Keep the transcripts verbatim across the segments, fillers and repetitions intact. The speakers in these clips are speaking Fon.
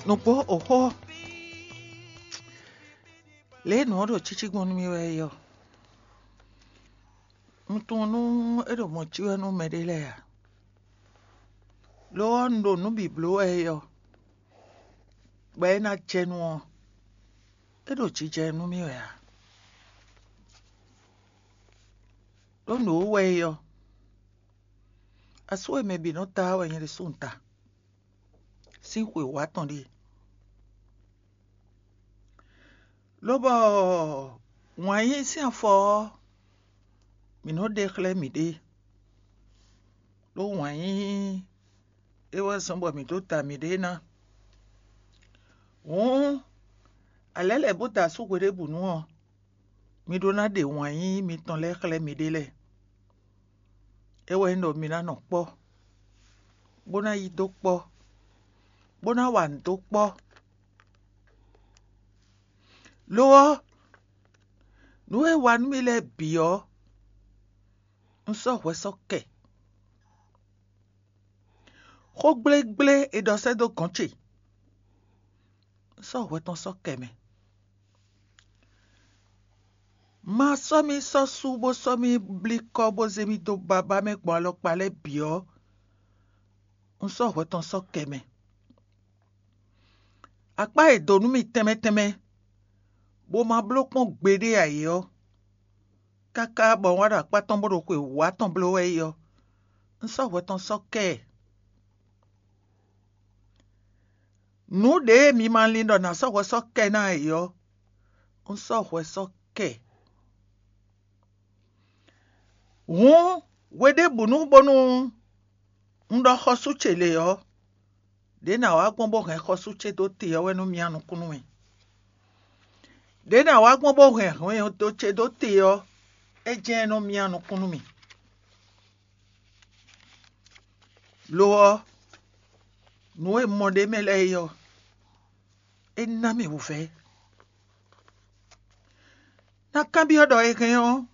Nǔgbó oxó, lě e nǔ ɔ́ ɖo cící gbɔn nú mì wɛ é ɔ́, un tunwun nú é ɖo mɔ̌ cí wɛ nú mɛɖé lɛ́ɛ ǎ. Lo ɔ́, un ɖo nǔ bǐ bló wɛ é ɔ́, bɔ é ná jɛ nu ɔ́, é ɖo jijɛ nú mì wɛ ǎ. Ɖó nǔ e wɛ é ɔ́, asú e mɛ bǐ nɔ ta ɔ́ wɛ nyɛ ɖésú un ta sín xwe wǒ atɔn ɖíe. Lobɔ wǎn yíyí sín afɔ ɔ́, mǐ nɔ́ ɖe xlɛ́ mǐɖée, ɖó wǎn yíyí é wɛ zɔ́n bɔ mǐ dó da mǐɖée ná. Hǔn, alɛ̌ lɛ̌ bó da asú hweɖěbǔnu ɔ́, mi ɖó ná ɖe wǎn yíyí mitɔn lɛ́ɛ xlɛ́ miɖée lɛ́ɛ. É wɛ nyí ɖɔ mi ná nɔ kpɔ́, bó ná yí dó kpɔ́, bó ná wa nǔ dó kpɔ́. Lo ɔ́, nǔ e wa nú mì lɛ́ɛ bǐ ɔ́, un sɔ́ hwɛ sɔ́ kɛ. Xó gblégblé è ɖɔ sɛ́ dó gɔ̌n ce, un sɔ́ hwɛ tɔn sɔ́ kɛ mɛ. Ma sɔ́ mì sɔ́ sú bó sɔ́ mì blí kɔ́ bó zé mì dó babá mɛ gbɔn alɔkpa lɛ́ɛ bǐ ɔ́, un sɔ́ hwɛ tɔn sɔ́ kɛ mɛ. Akpá e dǒ nú mì tɛnmɛ tɛnmɛ, bó ma bló kpɔ́n gbeɖé ǎ é ɔ́, káká bɔ un wá ɖo akpá tɔn bó ɖo xwe wǒ atɔn bló wɛ é ɔ́, un sɔ́ hwɛ tɔn sɔ́ kɛ ɛ. Nǔ ɖě e mi ma lin ɖɔ nǎ sɔ́ hwɛ sɔ́ kɛ ná ǎ é ɔ́, un sɔ́ hwɛ sɔ́ kɛ ɛ. Hǔn, hweɖěbǔnu bónú un ɖɔ xɔsú ce lě ɔ́, ɖě nǎ wá gbɔn bó hɛn xɔsú ce dó te ɔ́ wɛ nɔ myá nukún nú mì. Ɖě nǎ wá gbɔn bó hɛn hwɛndo ce dó te ɔ́, é jɛ́n nɔ myá nukún nú mì. Lo ɔ́, nǔ e mɔ ɖ'é mɛ lɛ́ɛ é ɔ́, é ná mì wǔvɛ́. Ná kanbyɔ́ ɖɔ è hɛn ɔ́,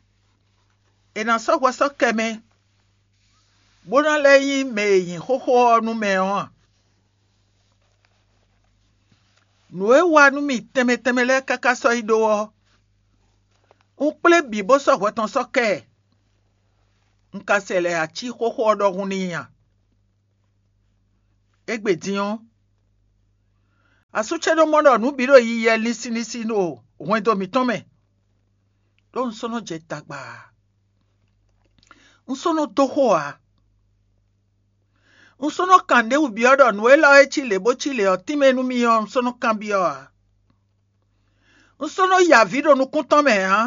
è nǎ sɔ́ hwɛ sɔ́ kɛ mɛ, bó ná lɛ́ nyí mɛ e nyi xóxó ɔ́ nú mɛ ɔ́ a? Nǔ e wa nú mì tɛnmɛ tɛnmɛ lɛ́ɛ káká sɔ́ yi ɖó ɔ́, un kplé bǐ bó sɔ́ hwɛ tɔn sɔ́ kɛ ɛ. Un ka sɛ lɛ̌ ací xóxó ɔ́ ɖɔhun n'i a? Égbé din ɔ́, asú ce ɖó mɔ ɖɔ nǔ bǐ ɖo yiyi wɛ linsin linsin ɖo hwɛndo mǐtɔn mɛ, ɖó un sɔ́ nɔ jɛ tagba ǎ. Un sɔ́ nɔ dó xo ǎ. Un sɔ́ nɔ kan nǔɖé wú byɔ́ ɖɔ nǔ élɔ́ e cí lě bó cí lě ɔ́ tínmɛ nú mì ɔ́, un sɔ́ nɔ kanbyɔ́ ǎ. Un sɔ́ nɔ ya avǐ ɖo nukún tɔn mɛ ǎ.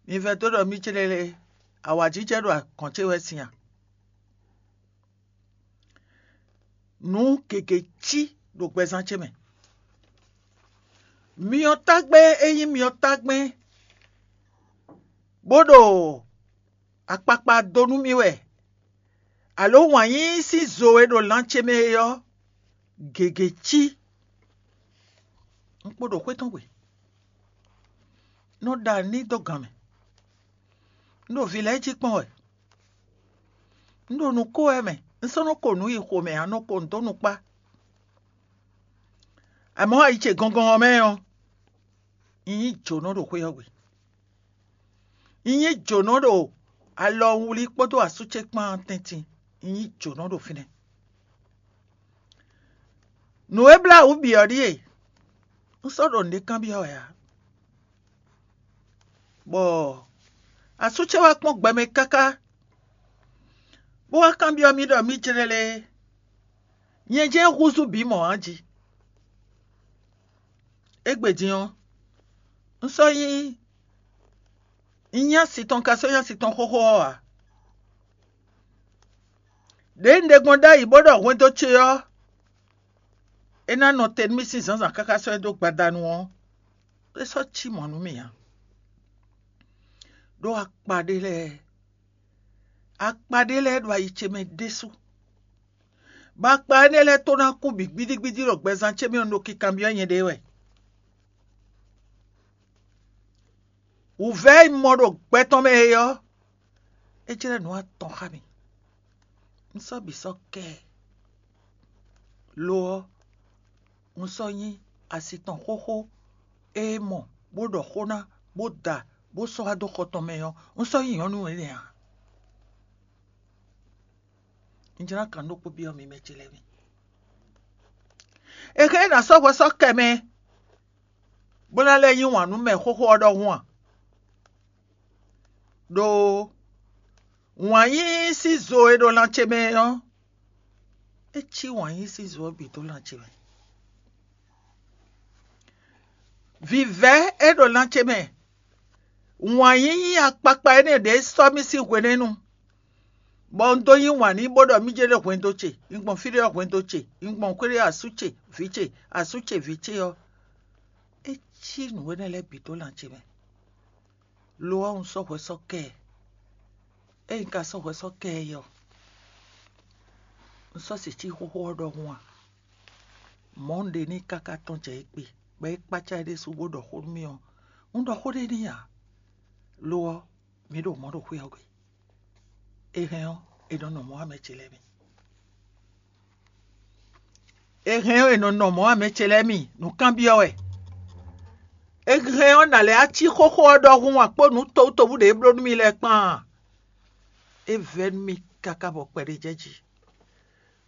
Mi vɛdó ɖɔ mì céɖéɖé, awǎjijɛ ɖo agɔ̌n ce wɛ sin a? Nǔ gěgé cí ɖo gbɛzán ce mɛ. Myɔ tágbɛ́ e nyí myɔ tágbɛ́, bó ɖo akpakpa dó nú mì wɛ, alo wǎn yíyí sín zo e ɖo lan ce mɛ é ɔ́, gěgé cí. Un kpo ɖo xwé tɔn gbe, nɔ ɖa n'i dó gan mɛ. Un ɖo vǐ lɛ́ɛ jí kpɔ́n wɛ. Un ɖo nǔ ko wɛ mɛ, un sɔ́ nɔ ko nǔ yi xomɛ ǎ, nɔ ko nǔ dó nukpá. Amɔ̌ ayi ce gɔngɔn ɔ́ mɛ ɔ́, un nyí jǒnɔ ɖo xwé ɔ́ gbe. Un nyí jǒnɔ ɖo alɔwlí kpódó asú ce kpán tɛ́ntin. Un nyí jǒnɔ ɖo fínɛ́. Nǔ e blá wǔ bǐ ɔ́ ɖíe, un sɔ́ ɖo nǔɖé kanbyɔ́ wɛ ǎ. Bɔ asú ce wá kpɔ́n gbɛ mɛ káká, bó wá kanbyɔ́ mì ɖɔ mì jlɛ́ lé, nyɛ jɛ́n húzú bǐ mɔ̌ a jí. Égbé din ɔ́, un sɔ́ nyí un nyí asi tɔn ka sɔ́ nyí asi tɔn xóxó ɔ́ ǎ. Ɖěe un ɖe gbɔn ɖ'ayǐ bó ɖɔ hwendo ce ɔ́, é ná nɔ te nú mì sín zǎnzǎn káká sɔ́ ɛ dó gbadanu ɔ́, é sɔ́ cí mɔ̌ nú mì ǎ. Ɖó akpa ɖé lɛ́ɛ, akpa ɖé lɛ́ɛ ɖo ayi ce mɛ ɖésú, bɔ akpa énɛ́ lɛ́ɛ tó ná kú bǐ gbídígbídí ɖo gbɛzán ce mɛ ɔ́, un ɖo kikanbyɔ́ nyɛɖée wɛ. Wǔvɛ́ e un mɔ ɖo gbɛ tɔn mɛ é ɔ́, é jlɛ́ nǔ atɔn xá mì. Un sɔ́ bǐ sɔ́ kɛ ɛ. Lo ɔ́, un sɔ́ nyí asi tɔn xóxó e mɔ, bó ɖɔ xó ná, bó da, bó sɔ́ wá dó xɔ tɔn mɛ ɔ́, un sɔ́ nyí nyɔ̌nu énɛ́ ǎ. Un jló ná kan ɖokpó byɔ́ mi mɛ ce lɛ́ɛ mi. È hɛn ná sɔ́ hwɛ sɔ́ kɛ mɛ, bó ná lɛ́ yí wǎn nú mɛ xóxó ɔ́ ɖɔhun a? Ɖó wǎn yíyí sín zo e ɖo lan ce mɛ ɔ́, é cí wǎn yíyí sín zo ɔ́ bǐ dó lan ce mɛ. Vǐvɛ́ e ɖo lan ce mɛ, wǎn yíyí akpakpa énɛ́ ɖě sɔ́ mì sín hwenɛ́nu, bɔ un dó yí wǎn n'i bó ɖɔ mì jɛ́n ɖo hwendo ce, un gbɔn fí ɖé ɔ́ hwendo ce, un gbɔn xwé ɖé asú ce, vǐ ce, asú ce, vǐ ce ɔ́, é cí nǔ énɛ́ lɛ́ɛ bǐ dó lan ce mɛ. Lo ɔ́, un sɔ́ hwɛ sɔ́ kɛ ɛ. Ényí un ka sɔ́ hwɛ sɔ́ kɛ ɛ ɔ́, un sɔ́ se cí xóxó ɔ́ ɖɔhun a? Mɔ̌ un ɖe n'i káká tɔ́n jɛ égbé, bɔ é kpácá é ɖésú bó ɖɔ xó nú mì ɔ́, un ɖɔ xó ɖé n'i ǎ. Lo ɔ́, mǐ ɖo mɔ̌ ɖo xwé ɔ́ gbe. È hɛn ɔ́, è nɔ nɔ mɔ̌ wá mɛ ce lɛ́ɛ mi. È hɛn ɔ́, è nɔ nɔ mɔ̌ wá mɛ ce lɛ́ɛ mi, nǔkanbyɔ́ wɛ. È hɛn ɔ́, nǎ lɛ́ cí xóxó ɔ́ ɖɔhun a kpó nǔ towútowú ɖě é bló nú mì lɛ́ɛ kpán a? É vɛ́ nú mì káká bɔ kpɛɖé jɛ jí.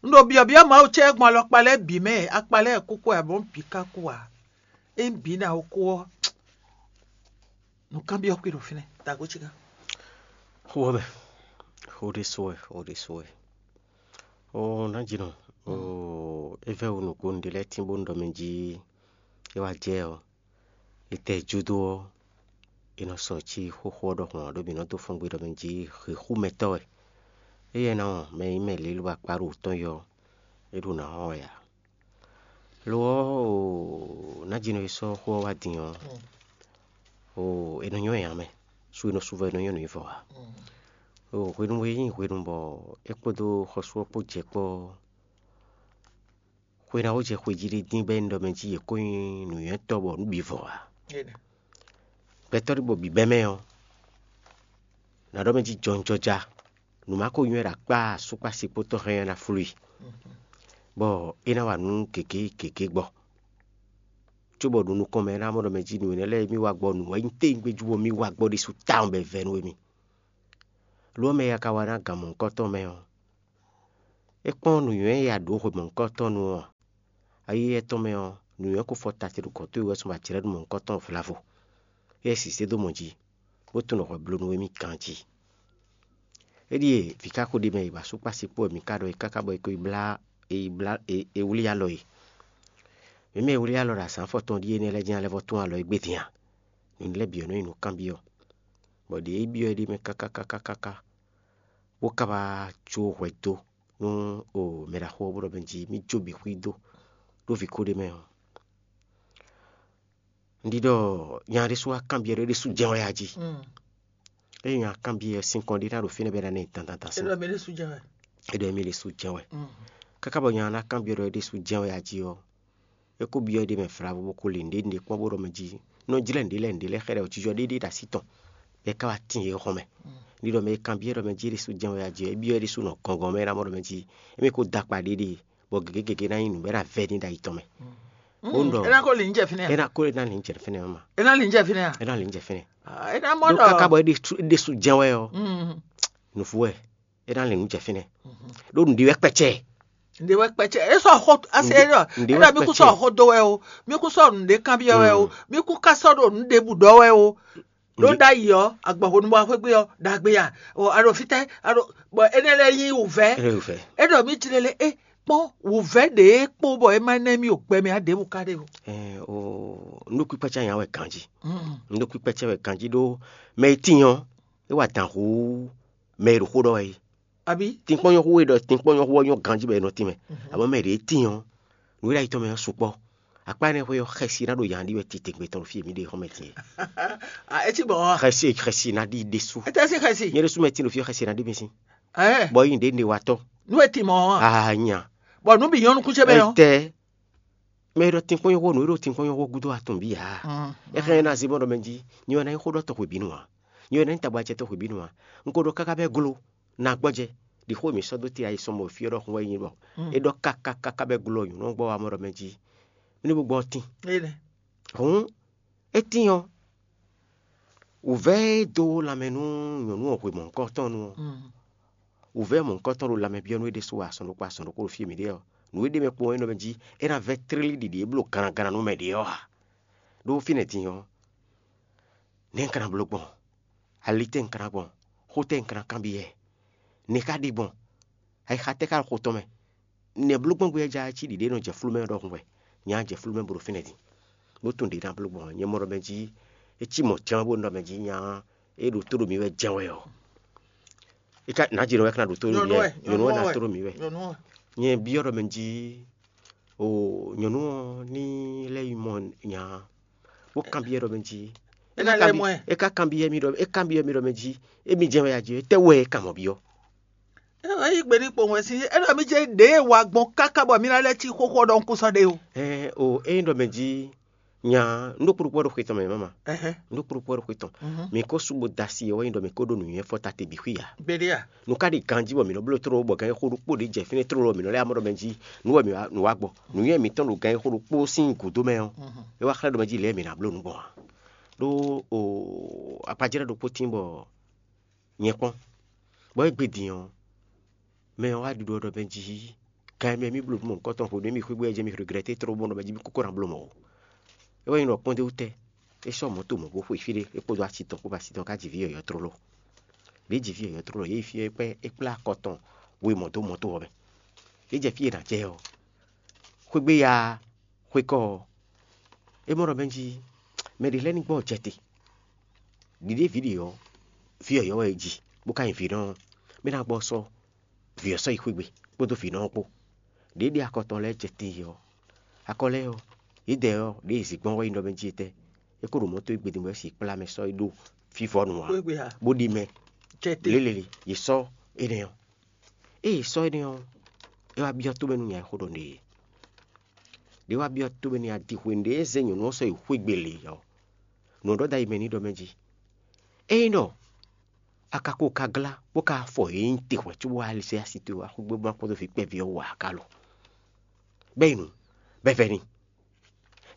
Un ɖo byɔ̌byɔ́ Mawu ce gbɔn alɔkpa lɛ́ɛ bǐ mɛ, akpa lɛ́ɛ kúkú ǎ, bɔ un bǐ ka kú ǎ. Ényí bǐ ná ko kú ɔ́, nǔkanbyɔ́ kpé ɖo fínɛ́, tago ce gán. Xó ɔ́ mɛ, xó ɖésú wɛ, xó ɖésú wɛ. Oo, nǎjínɔ, oo, é vɛ́ wǔ nǔgbó un ɖe lɛ́ɛ tín bónú ɖɔ mɛ jí é wá jɛ ɔ́, é tɛ júdó ɔ́, è nɔ sɔ cí xóxó ɔ́ ɖɔhun ǎ, ɖó mǐ nɔ dó fɔ́n gbe ɖɔ mɛ jí hǐxúmɛtɔ́ wɛ. Éyɛ́ ná wɔn mɛ e nyí mɛ lělú akpá ɖo wǔ tɔn yɔ ɔ́, é ɖo nǎ wɔn wɛ ǎ. Lo ɔ́, oo, nǎjínɔ e sɔ́ xó ɔ́ wá din ɔ́, oo, è nɔ nyɔ́ nya mɛ, su e nɔ su vɔ è nɔ nyɔ́ nǔ nyí vɔ ǎ. Oo, hwenu e nyí hwenu bɔ é kpódó xɔsú ɔ́ kpó jɛ kpɔ́ ɔ́, xwe ná wó jɛ xwe jí ɖé dín bɔ é nyí ɖɔ mɛ jí yě kó nyí nǔnywɛ́tɔ́ bɔ nǔ bǐ vɔ ǎ. Gbɛtɔ́ ɖé bɔ bǐbɛ́ mɛ ɔ́, nǎ ɖɔ mɛ jí jɔnjɔja, nǔ ma ko nywɛ́ ɖo akpá asúkpásikpótɔ́ hɛn ɔ́ ná flú i, bɔ é ná wa nǔ gěgé gěgé gbɔ. Cóbɔ ɖo nukɔn mɛ é ná mɔ ɖɔ mɛ jí nǔ énɛ́ lɛ́ɛ e mì wa gbɔ nǔ wɛ nyí téwúngbéjú bɔ mì wa gbɔ ɖésú tawun bɔ è vɛ́ nú émí. Lo ɔ́, mɛ e a ka wa ná gan mɔ̌hunkɔtɔn mɛ ɔ́, é kpɔ́n nǔnywɛ́ e a ɖǒ hwe mɔ̌hunkɔtɔn nu ɔ́ ǎ. Ayi étɔn mɛ ɔ́, nǔnywɛ́ ko fɔ ta ce ɖo gɔ̌ towe wɛ sɔ́ ba jlɛ́ nú mɔ̌hunkɔtɔn vlavo, éyɛ́ sisɛ́ dó mɔ jí, bó tunwun ɖɔ hwɛ bló nú émí ganjí. É ɖíe vǐ ká xo ɖ'é mɛ yi bɔ asúkpásikpó wɛ mǐ ka ɖɔ é káká bɔ é ko yi blá é yi blá é é wlí alɔ e. Mǐ mɛ e wlí alɔ ɖo azǎn afɔtɔn ɖíe énɛ́ lɛ́ɛ jɛ́n alɛ vɔ tún alɔ égbé din a? Nǔ lɛ́ɛ bǐ ɔ́ nɔ nyí nǔkanbyɔ́, bɔ ɖě é byɔ́ é ɖ'é mɛ káká káká káká, bó ka wá jó hwɛ dó nú o mɛ ɖaxó ɔ́ bó ɖɔ mɛ jí mì jó bǐ xwí dó ɖó vǐ ko ɖ'é mɛ ɔ́. Un ɖi ɖɔ nya ɖésú wá kanbyɔ́ ɖɔ é ɖésú jɛ́n wɛ a jí. Ényí nya kanbyɔ́ ɔ́, sinkɔn ɖé ná ɖo fínɛ́ bɔ é ná ná nyi dandan sín. É ɖɔ mɛ ɖésú jɛ́n wɛ. É ɖɔ émí ɖésú jɛ́n wɛ. Káká bɔ nya ná kanbyɔ́ ɖɔ é ɖésú jɛ́n wɛ a jí ɔ́, é kó byɔ́ éɖée mɛ vlavo bó kó lin nǔɖé nǔɖé kpɔ́n bó ɖɔ mɛ jí nɔ jlɛ́ nǔɖé lɛ́ɛ nǔɖé lɛ́ɛ xɛ ɖɛ jijɔ ɖéɖé ɖo así tɔn, bɔ é ka wá tín yě xɔmɛ. Ní ɖɔ mɛ e kanbyɔ́ ɖɔ mɛ jí é ɖésú jɛ́n wɛ a jí ɔ́, é byɔ́ é ɖésú nɔ gɔngɔn mɛ é ná mɔ ɖɔ mɛ jí émí ko dó akpa ɖéɖé, bɔ gěgé gěgé ná nyí nǔ bɔ é ná vɛ́ ní ɖo ayi tɔn mɛ. Bó ɖɔ é ná ko lin jɛ fínɛ́. É ná ko ná lin jɛ fínɛ́ mɛ ma. É ná lin jɛ fínɛ́ a? É ná lin jɛ fínɛ́. Ah, é ná mɔ ɖɔ káká bɔ é ɖésú jɛ́n wɛ ɔ́, nǔvú wɛ. É ná lin nǔ jɛ fínɛ́. Ɖó nǔɖé wɛ kpɛcɛ. Nde wɛ kpɛcɛ. E sɔ xɔ ase ɖɔ. Nde wɛ kpɛcɛ. Mi kún sɔ xɔ do wɛ o. Mi kún sɔ nǔɖé kanbyɔ́ wɛ o. Mi kún ka sɔ ɖo nǔɖé bǔ ɖɔ wɛ o. Ɖó ɖ'ayǐ ɔ́, agbɔ̌ hwenu bɔ xwé gbé ɔ́, ɖagbe a? Ɔ, a ɖo fítɛ́, a ɖo, bɔ énɛ́ lɛ́ɛ nyí wǔvɛ́. É ɖo wǔvɛ́. É ɖɔ mì jlé lé é kpɔ́n wǔvɛ́ ɖě kpó bɔ é má nɛ́ mì o gbɛ mɛ ǎ ɖěbǔ ka ɖe o. Ɛ o, nǔɖokpíkpácá nya wɛ ganjí. Nǔɖokpíkpácá wɛ ganjí ɖó mɛ e tíin ɔ́, é wa dǎn hú mɛ e ɖo xó ɖɔ wɛ é. Abǐ? Tinkpɔ́n nyɔ́ hú e ɖɔ tinkpɔ́n nyɔ́ hú ɔ́ nyɔ́ ganjí bɔ è nɔ tín mɛ. Abɔ mɛ ɖě tíin ɔ́, nǔ e ɖo ayi tɔn mɛ ɔ́ sukpɔ́. Akpá énɛ́ xwé ɔ́, xɛsi ná ɖo yǎ ɖi wɛ titewungbe tɔn ɖo fí e mí ɖe xɔmɛ din é. A é cí gbɔn ɔ́ a? Xɛsi, xɛsi ná ɖi ɖésú. É tɛ́ sín xɛsi? Nyɛ ɖésú mɛ tín ɖo fí ɔ́, xɛsi ná ɖi mì sín. Ɛɛ. Bɔ yi ɖě ɖe wa tɔ́. Nú e tin mɔ ɔ́ a? A nya. Bɔ nú bǐ nyɔ́ nukún ce mɛ ɔ́. Tɛ mɛ e ɖɔ tinkpɔ́n nyɔ́ xó nǔ e ɖo tinkpɔ́n nyɔ́ xó gúdo atɔn bǐ ǎ. Mm. É xlɛ́ ná zé bɔ ɖɔ mɛ jí. Nyɛ wɛ ná nyí xó ɖɔ tɔn xwebǐnu ǎ. Nyɛ wɛ ná nyí tagbacɛ tɔn xwebǐnu ǎ. Un ko ɖɔ káká bɛ́ glo. Na gbɔjɛ. Ɖi xó e mǐ sɔ́ dó te ayi sɔn mɔ fí ɔ́ ɖɔhun wɛ nyí bɔ é ɖɔ káká káká bɔ é glɔ́ nyɔ̌nu ɔ́ gbɔ wá mɔ ɖɔ mɛ jí mɛ ní bó gbɔ tín. Hǔn é tín ɔ́, wǔvɛ́ e dó lanmɛ nú nyɔ̌nu ɔ́ hwe mɔ̌hunkɔtɔn nu ɔ́, wǔvɛ́ mɔ̌hunkɔtɔn ɖo lanmɛ byɔ́ nú é ɖésú wɛ azɔn ɖokpó azɔn ɖokpó ɖo fí e mǐ ɖe ɔ́. Nǔ e ɖ'é mɛ kpowun é nɔ mɛ jí é ná vɛ́ tlílí ɖiɖi e bló ganagana nú mɛ ɖě ɔ́ ǎ. Ɖó fínɛ́ din ɔ́, nɛ̌ un ka ná bló gbɔn? Ali tɛ́ un ka ná gbɔn? Xó tɛ́ un ka ná kanbyɔ́? Nɛ̌ ka ɖi gbɔn? Ayixa tɛ́ ka ɖo xo tɔn mɛ? Nɛ̌ bló gbɔn gbé ɔ́ ja cí ɖiɖě nɔ jɛ flú mɛ ɔ́ ɖɔhun wɛ? Nya jɛ flú mɛ bo ɖo fínɛ́ din, bó tunwun ɖě ná bló gbɔn ɔ́. Nyɛ mɔ ɖɔ mɛ jí é cí mɔ̌ jɛ́n bó ɖɔ mɛ jí nya é ɖo tó ɖo mǐ wɛ jɛ́n wɛ ɔ́. É ka nǎjínɔ wɛ ka ná ɖo tó ɖo mǐ wɛ, nyɔ̌nu wɛ ná tó ɖo mǐ wɛ. Nyɛ byɔ́ ɖɔ mɛ jí o nyɔ̌nu ɔ́ ní lɛ́ yi mɔ nya bó kanbyɔ́ ɖɔ mɛ jí é ná lɛ́ mɔ ɛ. É ka kanbyɔ́ mì ɖɔ é kanbyɔ́ mì ɖɔ mɛ jí émi jɛ́n wɛ a jí étɛ́ wɛ é kan mɔ byɔ́? É wɛ yí gbe ní kpowun wɛ sín é ɖɔ mì jɛ ɖěe wa gbɔn káká bɔ mì ná lɛ́ cí xóxó ɔ́ ɖɔhun kún sɔ́ ɖe o. Ɛɛ o ényí ɖɔ mɛ jí nya un ɖó kpóɖokpó ɖo xwe tɔn mɛ mama. Ɛhɛn. Un ɖó kpóɖokpó ɖo xwe tɔn. Mǐ ko sú bo da asi ɔ́ wɛ nyí ɖɔ mǐ ko ɖó nǔnywɛ́ fɔta te bǐ xwí ǎ. Gbeɖé a? Nu ka ɖi ganjí bɔ mǐ nɔ bló tlóló bɔ gǎn e xó ɖokpó ɖě jɛ fínɛ́ tlóló ɔ́ mǐ nɔ lɛ́ amɔ ɖɔ mɛ jí nǔ wɛ mǐ wá nǔ wá gbɔ. Nǔnywɛ́ mǐtɔn ɖo gǎn e xó ɖokpó sín gǔdo mɛ ɔ́, é wá xlɛ́ ɖɔ mɛ jí lě e mǐ ná bló nǔ gbɔn ǎ. Ɖó o akpajlɛ́ ɖokpó tín bɔ nyɛ kpɔ́n, bɔ é gbe din ɔ́, mɛ ɔ́ wá ɖiɖɔ ɖɔ mɛ jí gǎn e mɛ mì bló nǔ mɔ̌hunkɔtɔn hwenu e mì xwé gbé ɔ́ jɛ mì regrɛ́té tlóló bɔ ɖɔ mɛ jí mì kókó ná bló mɔ̌ ó. É wɛ nyí ɖɔ kpɔ́ndéwú tɛ́ é sɔ́ mɔ̌ to mɔ̌ bó xwe fí ɖé é kpódó asi tɔn kpó bɔ asi tɔn ka ji vǐ yɔ̌yɔ́ tlóló. Ɖě ji vǐ yɔ̌yɔ́ tlóló yě yi fí é kpɛ́ é kplá akɔ tɔn we mɔ̌ dó mɔ̌ to ɔ́ mɛ. Yě jɛ fí e nǎ jɛ ɔ́, xwé gbé ya xwé kɔ́ ɔ́, é mɔ ɖɔ mɛ jí mɛ ɖě lɛ́ɛ ní gbɔ jɛ te. Ɖiɖě vǐ ɖě ɔ́, vǐ yɔ̌yɔ́ wɛ é ji, bó ka nyí vǐnɔ ɔ́, mɛ ná gbɔ sɔ́ vǐ ɔ́ sɔ́ yi xwé gbe kpódó vǐnɔ ɔ́ kpó. Ɖě ɖe akɔ tɔn lɛ́ɛ jɛ te ɔ́, akɔ lɛ́ɛ ɔ́, yědɛɛ ɔ́, ɖě e zǐgbɔ́n wɛ nyí ɖɔ mɛ jí etɛ́? É ko ɖo mɔ̌ towe gbedin bɔ é si kplá mɛ sɔ́ yi ɖó fívɔ́nu ǎ, bó ɖi mɛ lélele, yě sɔ́ énɛ́ ɔ́. Ée yě sɔ́ énɛ́ ɔ́, é wá byɔ́ tómɛ nú nya e xó ɖɔ nú yě. Ɖě wá byɔ́ tómɛ nú nya din hwenu ɖě é zé nyɔ̌nu ɔ́ sɔ́ yi xwé gbe lě ɔ́, nǔ ɔ́ ɖɔ dó ayi mɛ n'i ɖɔ mɛ jí: Ényí ɖɔ a ka ko ka glá bó ka fɔ yě nyi te hwɛ̌ cóbó wá lɛ́ sɛ́ asi towe wá xwé gbe bó ná kpɔ́n dó vǐ kpɛví ɔ́ wú ǎ ka lo? Bɛ́ yi nu, bɛ́ vɛ́ n'i.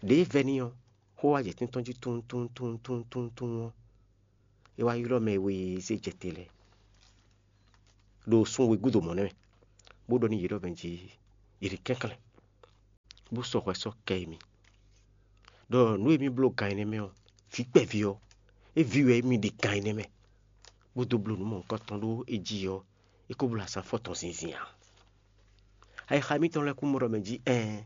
Ɖěe vɛ́ n'i ɔ́, xó wá jɛ tɛ́ntɔ́n jí túntúntúntúntún ɔ́, é wá ylɔ́ mɛ e we e zé jɛ te lɛ́ɛ ɖo sun wegúdo mɔ̌ nɛ́ mɛ, bó ɖɔ nú yě ɖɔ mɛ jí yě ɖi kɛnklɛ́n, bó sɔ́ hwɛ sɔ́ kɛ émí, ɖɔ nǔ e mì bló gan énɛ́ mɛ ɔ́, vǐ kpɛví ɔ́, é ví wɛ émí ɖi gan énɛ́ mɛ, bó dó bló nǔ mɔ̌hunkɔtɔn ɖó é jí ɔ́, é ko bló azǎn fɔ́n tɔn zinzin ǎ. Ayixa mitɔn lɛ́ɛ kún mɔ ɖɔ mɛ jí ɛɛn,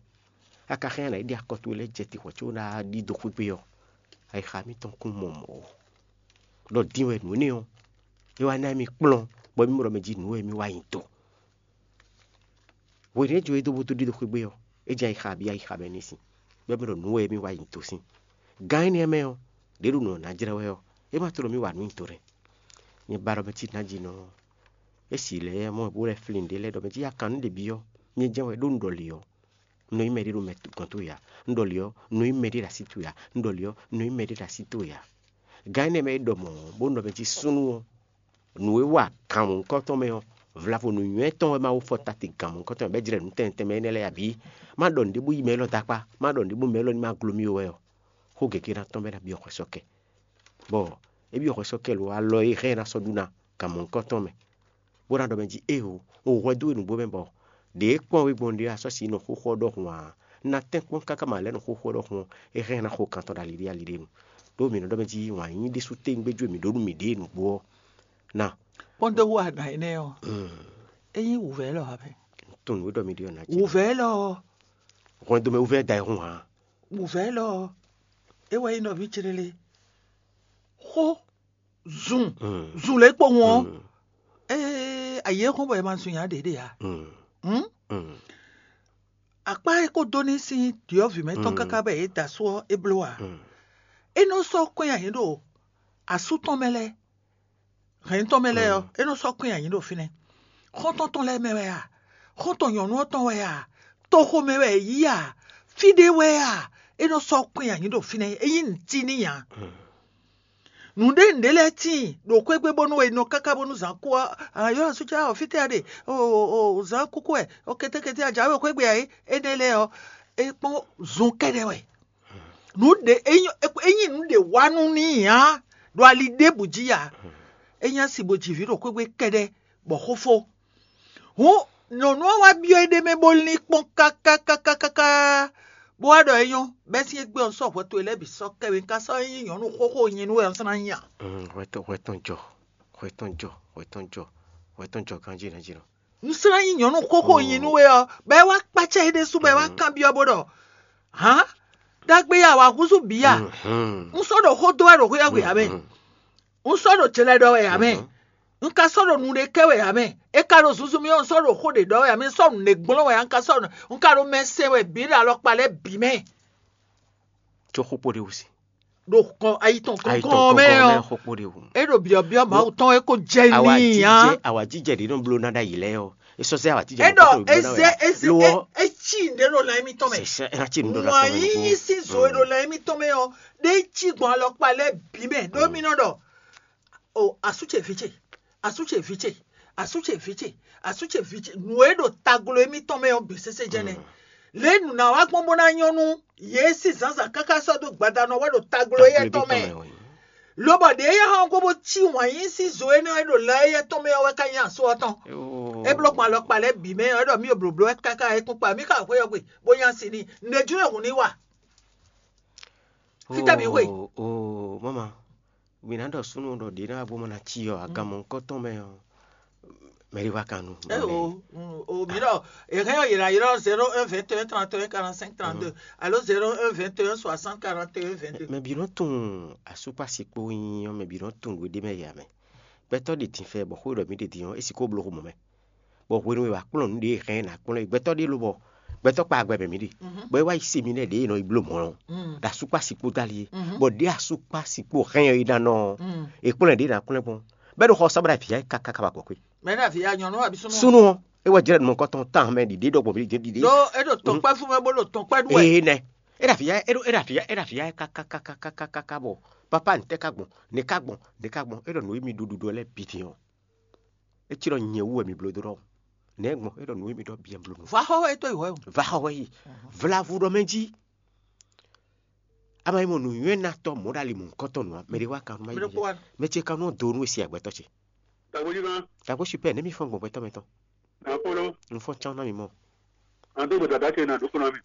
a ka hɛn ɔ́, nǎ yi ɖi akɔ towe lɛ́ɛ jɛ te hwɛ̌ có ná ɖi dó xwé gbe ɔ́, ayixa mitɔn kún mɔ mɔ̌ ó. Ɖɔ din wɛ nǔ énɛ́ ɔ́, é wá ná émí kplɔ́n, bɔ émí mɔ ɖɔ mɛ jí nǔ wɛ émí wa nyi do. Hwenu e é jǒ e dó bó dó ɖi ɖo xwé gbe ɔ́, é jɛ ayixa abǐ ayixa mɛ ní sin, bɔ é mɔ ɖɔ nǔ wɛ émí wa nyi do sín. Gǎn énɛ́ mɛ ɔ́, ɖě ɖo nǔ ɔ́ ná jlɛ́ wɛ ɔ́, é ma tló mì wa nǔ nyi do nɛ́. Nyɛ ba ɖɔ mɛ cí nǎjínɔ ɔ́, é si lɛ́ɛ mɔ bó lɛ́ flín ɖě lɛ́ɛ ɖɔ mɛ cí akannú ɖě byɔ́, nyɛ jɛ́n wɛ ɖó un ɖɔ lě ɔ́, un nɔ nyí mɛɖé ɖo mɛ gɔn towe ǎ. Un ɖɔ lě ɔ́, un nɔ nyí mɛɖé ɖo así towe ǎ. Un ɖɔ lě ɔ́, un nɔ nyí mɛɖé ɖo así towe ǎ. Gǎn énɛ́ mɛ e ɖɔ mɔ̌ bó nɔ mɛ jí súnnu ɔ́, nǔ e wa gǎn mɔ̌hunkɔtɔn mɛ ɔ́, vlavo nǔnywɛ́ tɔn wɛ ma wú fɔ ta te gǎn mɔ̌hunkɔtɔn mɛ bɔ é jlɛ́ nǔ tɛnmɛ tɛnmɛ énɛ́ lɛ́ɛ abǐ? Má ɖɔ nǔɖé bó yí mɛ élɔ́ dó akpá, má ɖɔ nǔɖé bó mɛ élɔ́ ní ma gló mì ó wɛ ɔ́, xó gěgé ná tɔ́n bɔ é ná byɔ́ hwɛ sɔ́ kɛ. Bɔ é byɔ́ hwɛ sɔ́ kɛ lo alɔ e hɛn ɛ ná sɔ́ ɖu ná gǎn mɔ̌hunkɔtɔn mɛ, bó ná ɖɔ mɛ jí éeǒ, un hwɛ dó we nǔgbó mɛ bɔ ɖě e kpɔ́n we gbɔn ɖe ɔ́, a sɔ́ si nɔ xóxó ɔ́ ɖɔhun ǎ. Un ná tɛ́nkpɔ́n káká ma lɛ́ nɔ xóxó ɔ́ ɖɔhun ɔ́, é hɛn ná xo kan tɔn ɖo ali ɖé ali ɖé nu. Ɖó mǐ nɔ ɖɔ mɛ jí wǎn yíyí ɖésú téwúngbéjú e mǐ ɖó nú mǐɖée nǔgbó ɔ́ ná. Kpɔ́ndéwú ana énɛ́ ɔ́, é nyí wǔvɛ́ élɔ́ ǎ mɛ. Tunwun nǔ e ɖɔ mǐ ɖe ɔ́ ná jí. Wǔvɛ́ élɔ́ ɔ́, hwɛndo mɛ wúvɛ́ da ɛ hun ǎ. Wǔvɛ́ élɔ́ ɔ́, é wɛ nyí nɔví ce lé. Xó zun zun lě kpowun ɔ́, ee ayǐ e hɔn bɔ è ma zun nya ɖě ɖe ǎ. Hǔn akpá e ko dó ní sín ɖyɔ̌vǐ mɛ tɔn káká bɔ yě da asú ɔ́ é bló ǎ. É nɔ sɔ́ kɔn nyi ayǐ ɖo asú tɔn mɛ lɛ́ɛ, hɛ̌n tɔn mɛ lɛ́ɛ ɔ́, é nɔ sɔ́ kɔn nyi ayǐ ɖo fínɛ́. Xɔ́ntɔn tɔn lɛ́ɛ mɛ wɛ a? Xɔ́ntɔn nyɔ̌nu ɔ́ tɔn wɛ a? Toxo mɛ wɛ è yí a? Fí ɖé wɛ a? É nɔ sɔ́ kɔn nyi ayǐ ɖo fínɛ́, é nyí nǔtí n'i ǎ. Nǔɖé nǔɖé lɛ́ɛ tíin ɖo xwé gbe bónú è nɔ káká bónú zǎn kú ɔ́, ayɔ́ asúcá ɔ́ fítɛ́ a ɖe? O zǎn kúkú wɛ, o kétékété a jǎwe xwé gbe ǎ é. Énɛ́ lɛ́ɛ ɔ́, é kpɔ́n zun kɛ́ɖɛ́ wɛ. Nǔɖé ényí nǔɖé wa nú n'i ǎ ɖo ali ɖěbǔ jí ǎ. É nyí asi bo ji vǐ ɖo xwé gbe kɛ́ɖɛ́ bɔ xó fó. Hǔn nyɔ̌nu ɔ́ wá byɔ́ éɖée mɛ bó lín kpɔ́n káká káká káká, bó wá ɖɔ é nyɔ́, bɛ́ sín égbé ɔ́ sɔ́ hwɛ towe lɛ́ɛ bǐ sɔ́ kɛ we, un ka sɔ́ nyí nyɔ̌nu xóxó nyi nú wɛ un slá nyí a? Hwɛ tɔn hwɛ tɔn jɔ, hwɛ tɔn jɔ, hwɛ tɔn jɔ, hwɛ tɔn jɔ ganjí nɛ́ jí nɔ. Un slá nyí nyɔ̌nu xóxó nyi nú we ɔ́, bɔ é wá kpácá é ɖésú bɔ é wá kanbyɔ́ bó ɖɔ: Hǎn, ɖagbe ya wǎ húzú bǐ a? Un sɔ́ ɖo xó dó wɛ ɖo xwé ɔ́ gbe ǎ mɛ. Un sɔ́ ɖo jlɛ ɖɔ wɛ ǎ mɛ. Un ka sɔ́ ɖo nu ɖé kɛ wɛ ǎ mɛ. É ka ɖo zunzun mì ɔ́, un sɔ́ ɖo xó ɖě ɖɔ wɛ ǎ mɛ. Un sɔ́ nǔ ɖě gblɔ́n wɛ ǎ, un ka sɔ́ un ka ɖo mɛ sɛn wɛ bǐ ɖo alɔkpa lɛ́ɛ bǐ mɛ. Có xó kpó ɖé wú sí. Ɖo kɔn ayi tɔn kɔnkɔn mɛ ɔ́, xó kpó ɖé wú. É ɖo byɔ̌byɔ́ Mawu tɔn é ko jɛ n'i ǎ. Awǎjijɛ ɖě nɔ bló ná ɖ'ayǐ lɛ́ɛ ɔ́, é sɔ́ zɛ awǎjijɛ É ɖɔ é zɛ é zɛ é é cí nǔɖé ɖo lan émítɔn mɛ. Sɛsɛ é ná cí nǔɖé ɖo Wǎn lan yíyí sín zo e ɖo lan émítɔn mɛ ɔ́, ɖé cí gbɔn alɔkpa lɛ́ɛ bǐ mɛ ɖó mì nɔ ɖɔ: O asú ce vǐ ce, asú ce vǐ ce, asú ce vǐ ce, asú ce vǐ ce, nǔ e ɖo taglo émítɔn mɛ ɔ́ gbě sésé jɛnɛ. Lě nǔ ná wá gbɔn bó ná nyɔ́ nú yě sín zǎnzǎn káká sɔ́ dó gbadanu ɔ́ wɛ ɖo taglo éyɛ́ tɔn mɛ. Lobɔ ɖě éyɛ́ hɔn gó bó cí wǎn yí sín zo énɛ́ e ɖo lɛ éyɛ́ tɔn mɛ ɔ́ wɛ ká nyí asú ɔ́ tɔn. É bló gbɔn alɔkpa lɛ́ɛ bǐ mɛ ɔ́, é ɖɔ mí o blǒbló wɛ káká é kún kpa mí ka xwé ɔ́ gbe bó nyí asi n'i. Nǔɖé jú é hǔn ní wa. Fítɛ́ mǐ xwe? Oo mama, mi ná ɖɔ súnnu ɖɔ ɖě ná bó ma ná cí ɔ́, agan mɔ̌hunkɔtɔn mɛ ɔ́, mɛ ɖé wá kan nu. Eo, o mi ɖɔ, èhɛn ɔ́ yě ná ylɔ́ zéro un vingt et un trente et un quarante cinq trente deux alo zéro un vingt et un soixante quarante et un vingt deux. Mɛ bǐ nɔ tunwun asúkpási kpó nyí ɔ́, mɛ bǐ nɔ tunwun nǔ e ɖ'é mɛ yě ǎ mɛ. Gbɛtɔ́ ɖe din fɛ bɔ xó e ɖɔ mǐ ɖe din ɔ́, é sixú bló xomɔ mɛ. Bɔ hwenu e wǎ kplɔ́n nǔɖé e hɛn ná kplɔ́n é, gbɛtɔ́ ɖé lobɔ gbɛtɔ́ kpa agbɛ mɛ mǐ ɖe, bɔ é wá yi se mi nɛ́ ɖě e nɔ yi bló mɔ̌ ɔ́, ɖo asúkpási kpó dali é, bɔ ɖě asúkpási kpó hɛn ɔ́ é ná nɔ ɔ́, è kplɔ́n ɖě ná kplɔ́n gbɔn, bɔ é ɖo xɔ ɔ́ sá bó ɖo avǐ ya é káká ká wá gbɔ xwé. Mɛ ɖo avǐ ya nyɔ̌nu wɛ abǐ súnnu? Súnnu ɔ́, é wɛ jlɛ́ nukɔntɔn tán mɛ ɖiɖe ɖɔ gbɔn mí ɖiɖe. Ɖó é ɖo tɔkpɛ́ fún mɛ bó ɖo tɔkpɛ́ ɖu wɛ. Ee nɛ, é ɖo avǐ ya é ɖo é ɖo avǐ ya é ɖo avǐ ya é káká káká káká káká bɔ papa ntɛ́ ká gbɔn, ne ká gbɔn, ne ká gbɔn, é ɖɔ nǔ e mi ɖo ɖuɖu ɔ́ lɛ́ɛ bǐ din ɔ́, é cí ɖɔ nyɛ wú wɛ mi bló dó ɖɔ nɛ̌ gbɔn é ɖɔ nǔ e mi ɖɔ bǐ un bló nú. Vǎ xɔ wɛ é tɔ́ yi hwɛ o. Vǎ xɔ wɛ yi. Vlavu ɖɔ mɛ jí. A ma yi mɔ nǔnywɛ́nátɔ́ mɔ̌ ɖo ali mɔ̌hunkɔtɔn nǔ ǎ, mɛ ɖé wá kan nú má yi. Mɛ ɖokpó wá. Mɛ ce kan nú do nú e se agbɛtɔ́ ce. Tagbo jí kan. Tagbo super nɛ̌ mi fɔ́n gbɔn gbɛtɔ́ mɛ tɔn? Akpɔ́nɔ. Un fɔ́n cán ná mi mɔ. An dó gbèdà dá ce nà dúkú ná mi.